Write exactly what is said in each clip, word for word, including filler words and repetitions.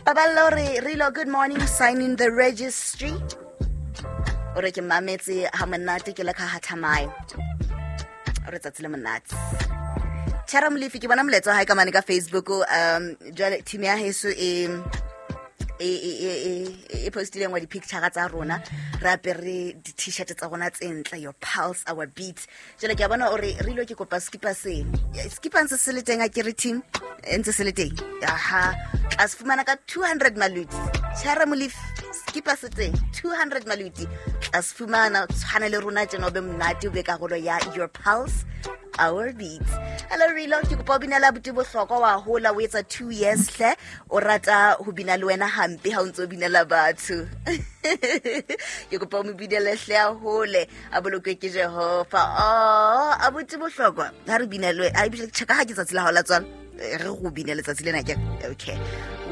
Paballo re Rilo, good morning, signing the registry. O re ke mametse ha monate ke le ka hathamae. O re tsatsi le monate. Tshara Molefi, ke bona molaetsa wa hae ka mane ka Facebook. um Jwale team ya heso e e e e e e postileng wa di-picture tsa rona re apere di-t-shirt tsa rona tse ntle, "Your pulse, our beat." Jwale ke a bona ore re ilo ke kopa skipa seno, skipa ntse se le teng, a kere team e ntse se le teng. Aha, tla se fumana ka two hundred maluti. Tshara Molefi, skipa se teng, two hundred maluti, tla se fumana. Tshwane le rona tjena, o be monate, o be karolo ya "Your Pulse, Our Beat". Hello Rilo, ke kopa o binela buti Bohlokwa wa hola, o etsa two years hle, o rata ho bina le wena hampe ha o ntse o binela batho. Ke kopa o mo binele hle, a hole, a bolokwe ke Jehova. Oh, abuti Bohlokwa, ha re binelwe a ebile check ha ke tsatsi la hao la tswalo, re go bine letsatsi lena ke okay.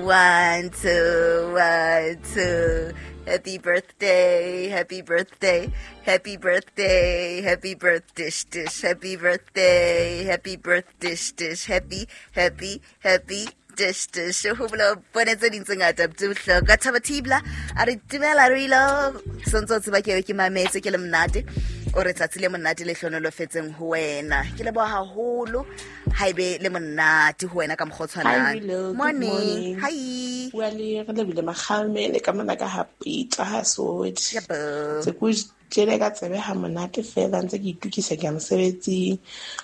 One, two, one, two. Happy birthday, happy birthday, happy birthday, happy birthday, dish, happy birthday, happy birthday, dish, happy, happy, happy dish, dish. Ho bola bone tse ding tse ngata tse bohlokwa. Thaba Thibla a re dumela Rilo, sontse o tseba ke ke mametse ke le monate. O re tsatsi le monate le hlonolofetseng ho wena. Ke leboha haholo, haebe le monate ho wena ka mokgwa o tshwanang. Hi, Rilo. Good Morning. morning. Hi. Bua le re lebile Makgalemele ka mona ka ha Pitsa ha Soweto. Yabo. Se ko jele ka tsebe ha monate fela ntse ke itukisa ke ya mosebetsing.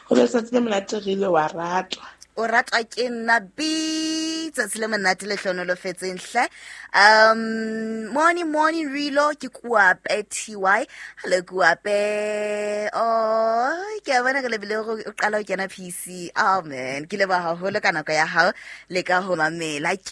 Ho be letsatsi le monate re ile wa ratwa. O ratwa ke nna b tsatsi le monate le hlonolofetseng hle. um morning morning Rilo, ke Kuape T Y. Hello Kuape. Oh, ke a bona ke lebile go o qala ho kena P C. Oh man, ke leboha haholo ka nako ya hao le ka ho mamela ke.